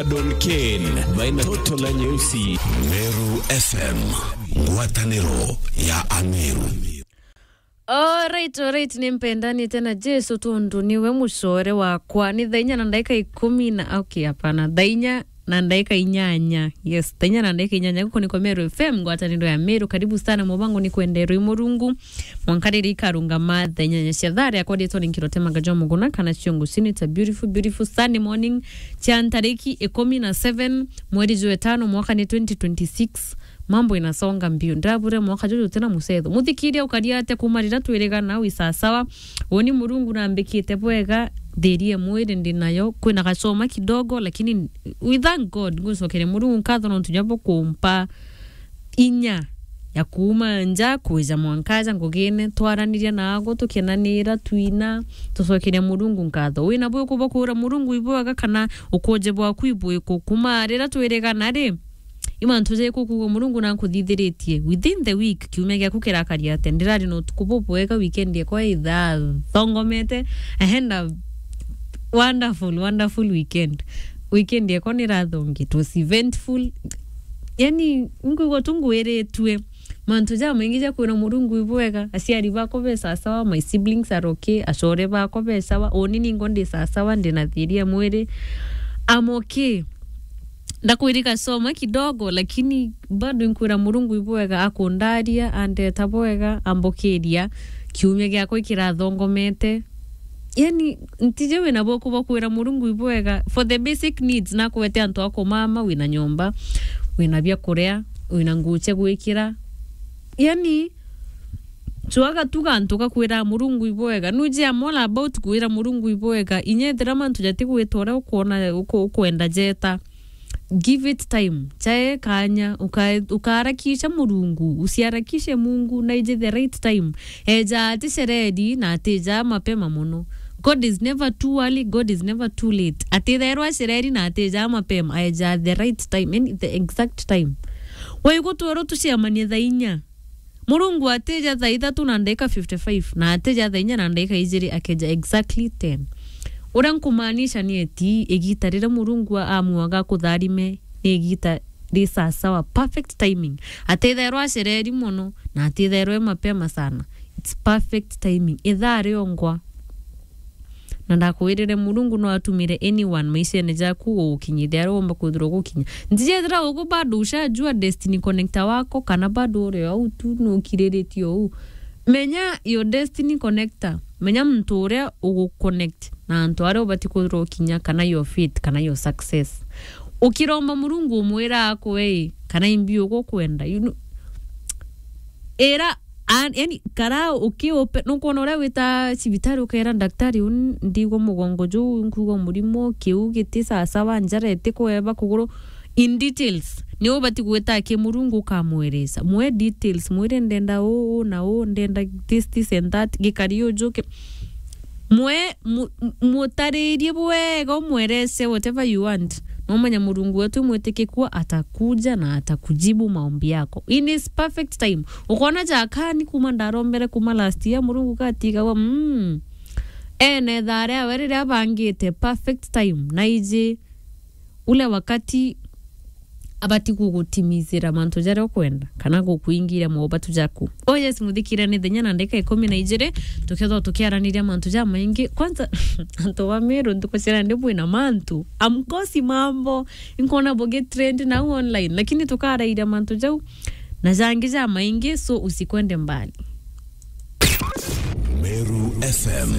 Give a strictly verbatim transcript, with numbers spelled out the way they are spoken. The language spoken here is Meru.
Don Ken, baina toto la nyeusi. Meru F M, ngwataniro ya Ameru. Alright, alright, ni mpendanite na Jesu tondu niwe mucore wakwa. Ni thaa inya na ndagika ikumi na, okay, hapana, thaa inya na ndagika inyanya. Yes, thaa inya na ndagika inyanya. Guku niko Meru F M, ngwataniro ya Meru. Karibu sana, mubango ni kwenderwa i Murungu. Mwanka riria ikarungama thaa inyanya cia thaa, riakwa ritwa ni Nkirote Magajo Muguna, kana Ciongo Cini. It's a beautiful, beautiful Sunday morning. Cia ntariki ikumi na seven, mweri jwa itano, mwaka ni twenty twenty-six. Mambo inasonga mbio. Ndabure mwaka juju tena musetho. Muthikiria ukaria atia kuma riria twirigana wi sasawa? Uni Murungu nambikite bwega, thiri ya mwiri ndi nayo. Kwina gacoma kidogo, lakini we thank God. Ngucokeria Murungu nkatho nontu nya bwa kumpa inya ya kuuma nja kwija mwanka aja ngugine, twaraniria naago, tukenanira, twina, tucokeria Murungu nkatho. Wina bwiko bwa kwira Murungu ibwega kana ukoje bwaku ibwiko? Kuma riria twirigana ri, i mantu jaiku kuuga Murungu nankuthithiritie within the week, kiumia giaku kirakari atia? Ndirari na utuku bubwega, weekend yakwa ithathongomete. I had a wonderful, wonderful weekend. Weekend yakwa nirathongi, it was eventful. Yani, nkwigua tu ngwiritue mantu jamaingi ja kwira Murungu ibwega. Aciari bakwa be sasawa, my siblings are okay, acore bakwa be sawa, uni ningo ndi sasawa, ndina thiri ya mwiri. I'm okay. Ndakwiri gasoma kidogo, lakini bado nkwira Murungu ibwega, akundaria, andeta bwega, ambukiria, kiumia giakwa ikirathongomete. Yani, ntiji wina bwoko bwa kwira Murungu ibwega. For the basic needs, nakwete antu a kumama, wina nyomba, wina bia kuria, wina nguu cia gwikira. Yani, cwaga tu gantu ga kwira Murungu ibwega. Nuji I'm all about kwira Murungu ibwega. Inya ethira mantu jatigwita uria ukwona, uku-, ukwenda jeta. Give it time. Chae kanya, uka-, ukaharakisha Murungu, usiharakishe Mungu, na ije the right time. Eja ati cereri na atija mapema mono. God is never too early, God is never too late. Atithairwa cereri na atija mapema, eja the right time, yani the exact time. Waigutwerwo tucemanie thaa inya. Murungu atija thaa ithatu na ndagika fifty-five, na atija thaa inya na ndagika ijiri, akeja exactly ten. Uria nkumaanisha ni eti, igita riria Murungu amuaga akutharime, ni igita ri sasawa, perfect timing. Atithairwa acereri mono, na atithairwa e mapema sana. It's perfect timing. Ithaa riongwa. Na ndakwirire, Murungu no atumire anyone maishene jaku gugukinyithia aria womba kwithirwa ugukinya. Ntijethira ugu bado ushajua destiny connector wako, kana bado uri o au tu nukiriritie uu. Menya your destiny connector. Menya muntu uria uguconnect na antu aria ubati kwithirwa ukinya, kana your fate, kana your success. Ukiromba Murungu umwira akwe ii, kana imbi ugukwenda. You know, ira An-, yani, kara ukiupe, nukwona uria wita cibitari ukeera daktari, "Uni ndigwa mugongo juu, nkuigwa murimo, kiu giti sasawa, njara itikweba, kuguru." In details, ni ubati gwita ki Murungu ukamweresa. Mwe details, mwire, "Ndenda uu, uu na uu, ndenda this, this and that, gikari ujuke." Mwe, mu-, mu-, mutaririe bwega, umwerese whatever you want. Na umenya Murungu wetu mwitikiku atakuja na atakujibu maombi yako in his perfect time. Ukona jakani kuma ndarombere kuma last year, Murungu katigagwa, mm. Ene thaa riawe riria abangite, perfect time. Na iji ule wakati abati gugutimizira mantu jaria ukwenda, kana gukuingira mobatu jaku. Oh yes, muthikire ni thenya na ndagika ikumi na ijiri, tukethwa tukiaraniria mantu jamaingi. Kwanza, antu ba Meru, ntuku cia nandi bwina mantu. Amkosi mambo, inkwona bugi trend nau online, lakini tukarairia mantu jau na jangi jamaingi, so usikwende mbali. Meru F M.